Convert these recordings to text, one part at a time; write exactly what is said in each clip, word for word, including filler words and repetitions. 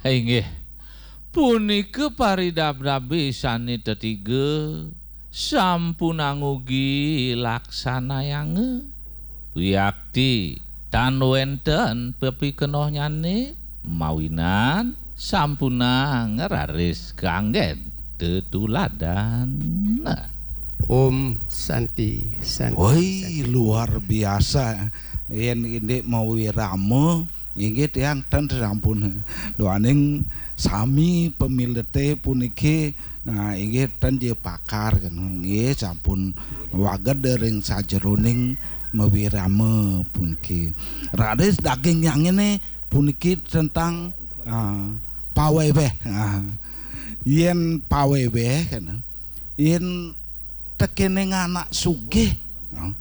Inggih, punika paridabdabe sane tetiga sampunang ugi laksanayanga. Wiakti tan wenten pepikenohnyane mawinan sampunang raris kanggen tetuladan. Om Santi, Santi, Woi, Santi. Luar biasa. Yen indik mawirama, inggih tiang ten sampun. Duaning sami pamilete puniki, nah, inggih ten je pakar kena. Nggih, sampun waged ring sajeroning mawirama puniki. Raris daging yang ini puniki tentang, ah, paweweh. Ah. Yen paweweh kena. Yen tekening anak sugih, no.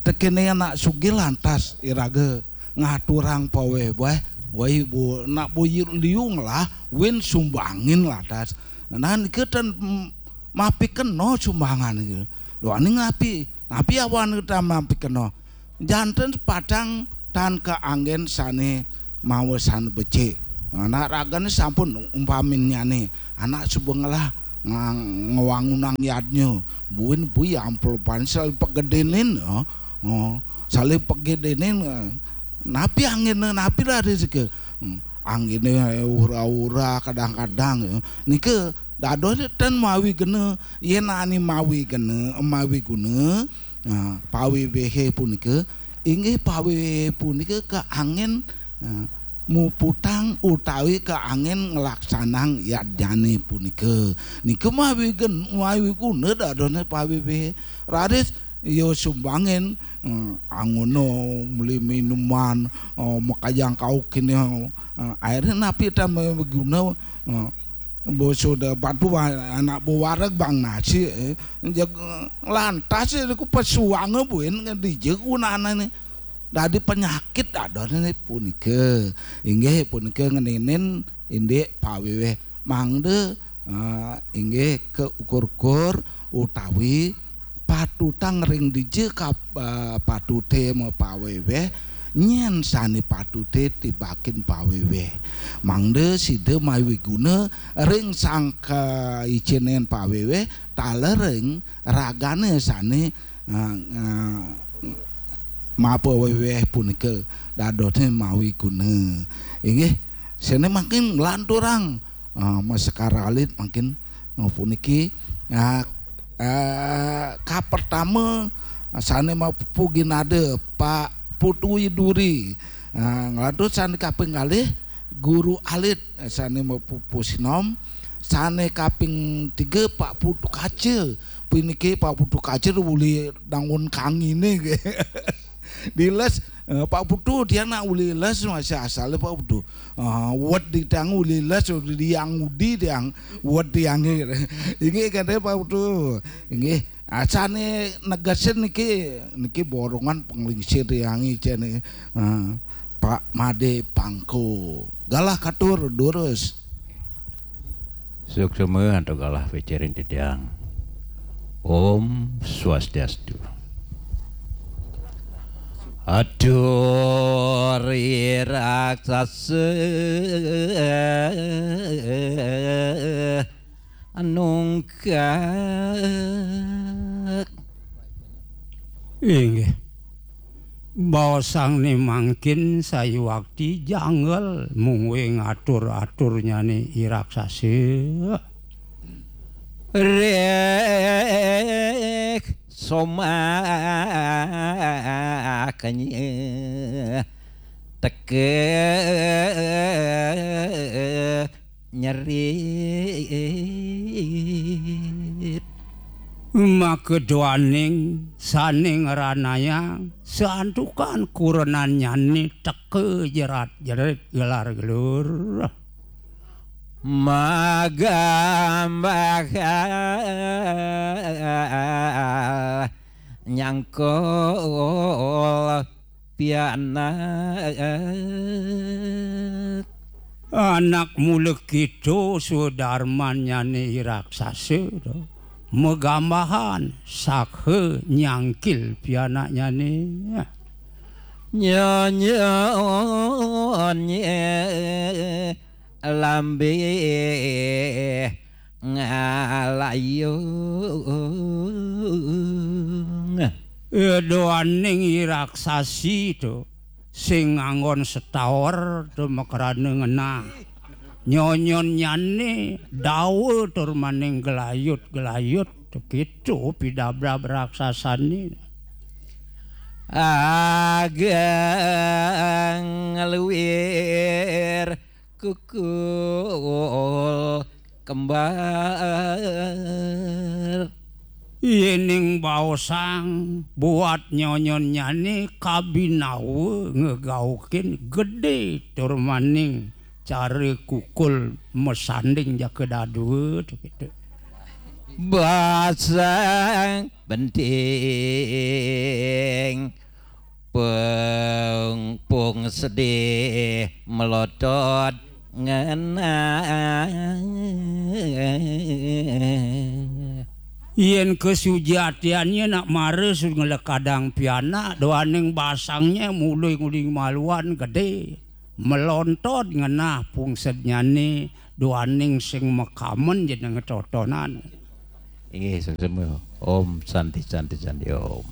Tekening anak sugih lantas iraga ngaturang paweweh, wai bu, nak bu liu ngelah, win sumbangin lantas. Nah, nika ten, mm, mapikeno sumbangan nika. Duaning napi, napi awan kita mapikeno. Janten padang tan kaanggen sane mawesan becik. Anak ragane sampun umpaminnyane, anak suba ngelah nga-, ngwangunang yadnya. Buin bui ampel pan saling pegedenin, oh. Oh, saling pegedenin, eh. Napi anggene, napi lari sike? Hmm, anggene ura-ura kadang-kadang, eh. Nika dadosne ten mawi gena, yen ani mawi gena, mawi guna, nah, pawewehe punika, inggih pawewehe punika kaangen, nah, muputang utawi kaangen nglaksanang yadnyane punika. Nika mawi gen-, mawi guna dadosne pawewehe. Raris ya sumbangin, eh, angono meli minuman, eh, makajang kau kene, eh, akhirnya napi tan mawi guna, eh, Basa da batu wa-, anak buah wareg bang nasi, eh. Jeg, lantas, eh, ku pesuanga buin dija gunane. Dadi penyakit dadone punika. Inggih punika ngeninin indik paweweh mangda, eh, inggih kaukur-ukur utawi patutang ring dija kap-, eh, patute mapaweweh, nyen sane patute tibakin paweweh. Mangda sida mawi guna ring sangka icenen paweweh, taler ring ragane sane, eh, eh, mapaweweh punika dadosne mawi guna. Inggih, sene mangkin nglanturang, eh, masekar alit mangkin, eh, puniki, eh, eh, kapertama, sane mapupu ginada Pak Putu Widuri. Eh, nglantur sane kaping kalih Guru Alit, eh, sane mapupu sinom. Sane kaping tiga Pak Putu Kaca. Puniki Pak Putu Kaca uli dangun kangine. Diles, eh, Pak Putu, tiang nak uli les masih asale Pak Putu. Ah, wet di tiang uli les, di tiang udi tiang, wet tiang. Inggih kate Pak Putu. Inggih, asane negesin niki, niki borongan penglingsir tiange jane. Ah, Pak Made Pangko. Galah katur, durus. Suksma antuk galah pikirin titiang. Om Swastiastu. Atur raksasa nungkak. Inggih. Baosang ni mangkin sayuwakti janggel mungguing atur-aturnyane i raksasa. Rek somakanya teka nyerit. Maka duaning sane ngranayang santukan kurenannyane teka jerat-jerit gelar-gelur. Magambah nyangkul pianak. Anak mula kita sudarmannyane i raksasa, to. Magambahan sakha nyangkil pianaknyane. Nyanyi lambih ngalayung. Duaning iraksasi to sing nganggon setawer to makrana ngenah. Nyonyonnyané dawa tur maning gelayut-gelayut to kéto pidabrab raksasané. Ageng ngluir kukul kembar. Yéning baosang buat nyonyonnyané kabinawa ngegaukin gedé tur maning cara kukul masanding jaka dadua to kéto. Basang benting pung pung sedih melotot ngenah. Yén kasujatiannyané nak mara sud nglekadang pianak, duaning basangnya mula nguli maluan gedé, melontot ngenah pungsednyané, duaning sing makamen jeneng totonan. Inggih, sesama. Om Santi, Santi, Santi, Om.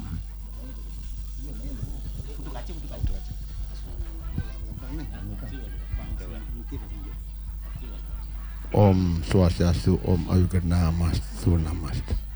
Om Swastiastu, Om Awighnamastu, Namastu.